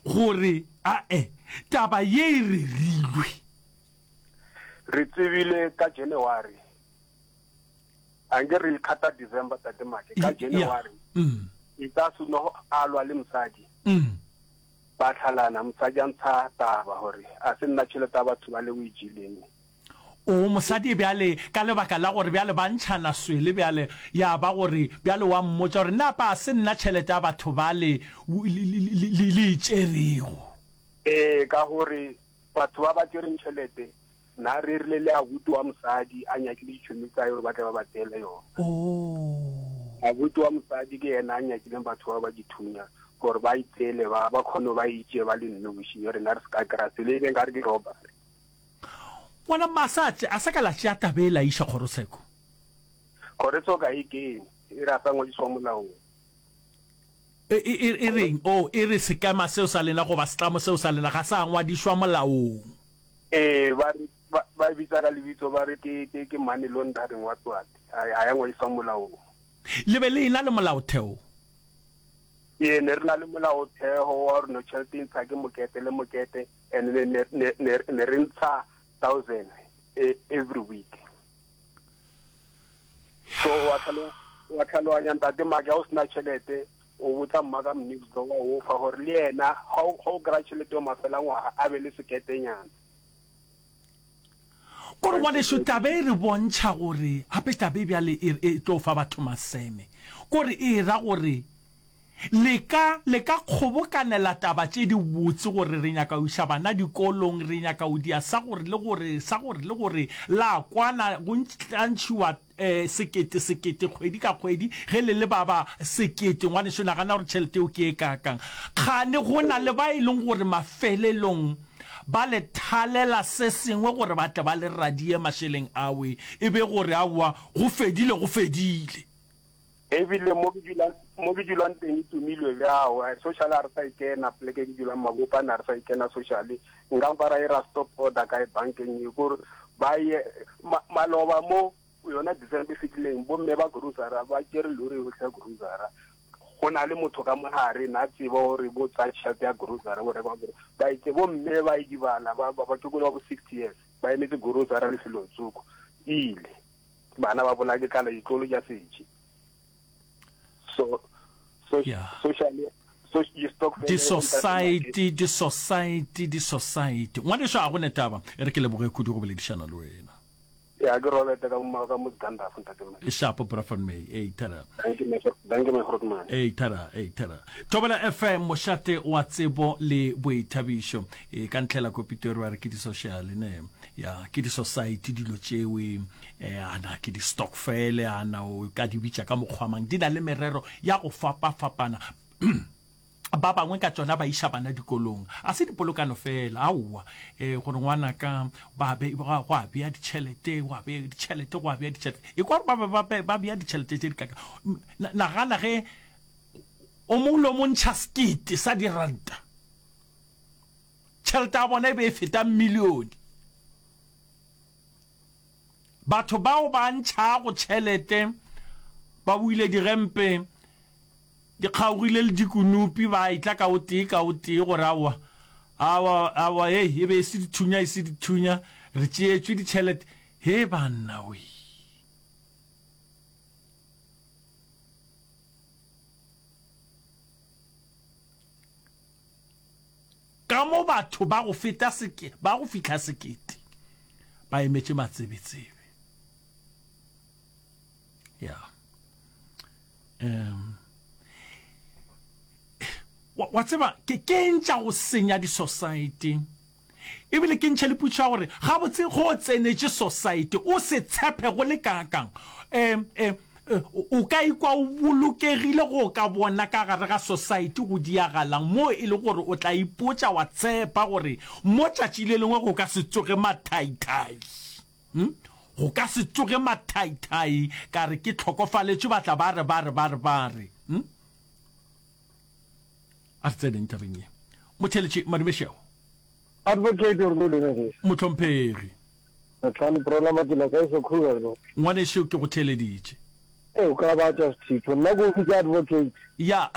gore ae taba ye e rerilwe? Re tsebile ka January. Anke re ikgata December tate Make ka January. Mm. E tla seno a lwa le mosadi. Mm. Ba tlhalana mosadi a ntsha taba gore a se nna tšhelete ya batho ba le o e jeleng. O mosadi bjale ka lebaka la gore bjale ba ntšhana swele bjale ya ba gore bjale wa mmotša gore napa a se nna tšhelete ya batho bale le e tšerego. Ee ka gore batho ba ba tšereng tšhelete na rerile le abuti wa mosadi a nyakile ditšhomi tsa gore ba tle ba ba tseele yona. Oh. Abuti wa mosadi ke yena a nyakileng batho ba ba dithunya gore ba itseele ba ba kgone ba itše ba le nnoši rena re se ka kry-a selo e beng ka re ke robbery. Ngwana mma a sa a sa ka la tšea taba e la iša kgorotsheko. Kgorotsheko ga e kene, e re a sa ngwadiswa molaong. E, e, e, e reng? Oh, e re sekema seo sa lena goba setlamo seo sa lena ga sa ngwadišwa molaong. Ee, ba re, ba, ba e bitsa ka lebitso ba re ke, ke, ke money laundering what what. Ga, ga ya ngwadiswa molaong. Le be le ena le molaotheo? Ee, ne re na le molaotheo wa gore no tšhelete e ntsha ke mokete le mokete. And ne ne ne ne ne re ntsha 1000 e, every week. So wa tlhalo wa tlhaloganya ntate Maki ha o sena tšhelete o botsa mma ka mnixdo wa o fa gore le yena ga o kry-a tšhelete yo mafela ngwaga a be le seketenyana. Kore ngwaneso taba e re bontšha gore gape taba e bjale e, e tlo fa batho maseme. Kore e ra gore Le ka, le ka kgobokanela taba tše di botse gore re nyaka go iša bana dikolong, re nyaka go dia sa gore le gore, sa gore le gore, la kwana, go tla ntšhiwa eh, sekete, sekete kgwedi ka kgwedi, ge le le ba ba sekete, ngwaneso nagana gore tšhelete eo ke e kaakang. Kgane go na le ba e leng gore mafelelong ba le thalela se sengwe gore ba tle ba le radie mašeleng awe, e be gore aowa, go fedile, go fedile. Ebile mo ke dulang mo ke dulang teng e tumilwe bjao social a re sa e kena poleke ke dulang mabopane a re sa e kena social nka mpa ra ira stop order kae bankeng e kore ba ye maloba mo yona December e fetileng bomme ba grocery ba tšere lori yohle ya grocery go na le motho ka mogare na tseba gore bo tsaya tšhelete ya grocery bo reka ba itse bomme ba idibala ba ba ke ba bo 60 years ba emetse grocery lefelong tsoko ile bana ba bolaya ke tlala ditlolo tša setše so so Yeah. socially so di-stokvel Di-society, di-society, di-society. Ngwaneso a go ne taba, e re ke leboge kudu go boledišana le wena. ya ke Robert ka mo ka mo Gandalf ntate man Shapo bra van May. Ei thara. thank you my thank you my grootman Ei thara, ei thara. Thobela FM mošate wa tsebo le boithabišo. E ka ntlhela ko Pitori wa re ke di-social ne. Ya ke di-society dilo tšewe. Eh, ana ke di-stokfele, ana o ka di bitša ka mokgwa mang. Di na le merero ya go fapafapana. Ba bangwe ka tšona ba iša bana dikolong. A se dipolokano fela, aowa. Eh, gore ngwanaka ba be, go a bea ditšhelete, go a bea ditšhelete, go a bea ditšhelete. E kwa gore ba be ba, ba, ba bea ditšhelete tše di kaka. Nagana ge o mongwe le o mongwe ntšha sekete sa diranta. Tšhelete ya bona e be e feta milione. Batho bao ba ntšhago tšhelete ba boile digempe di kgaogile le dikunupi ba etla ka o tee ka o tee gore aowa, aowa, aowa, hei, e be e se dithunya, e se dithunya, re tšeetšwe ditšhelete. He banna wee! Ka mo batho ba go feta seke, ba go fihla sekete ba emetše matsebetsebe. Ya. Um, wa, wa tseba, ke, ke eng tša go senya di-society? Ebile ke ntšhe le potšišo ya gore, gabotse ge o tsenetše society, o se tshepe go le kaakang? Um, um, o ka ikwa o bolokegile ge o ka bona ka gare ga society go diagalang moo e le gore o tla ipotša wa tshepa gore mo tšatši le lengwe go ka se tsoge mathaithai. Hm? Go ka se tsoge mathaithai ka re ke hlokofaletšwe ba tla ba re ba re ba re ba re. Hm? A re tseneng tabeng ye. Motheeletši Madumešego. Advocate o re dumediša. Mohlomphegi. Matlhano Prola Matila kae so Kruger no. Ngwanešu ke go theeleditše. Ee o ka ba tša sethitho nna ko bitsa advocate. Ya.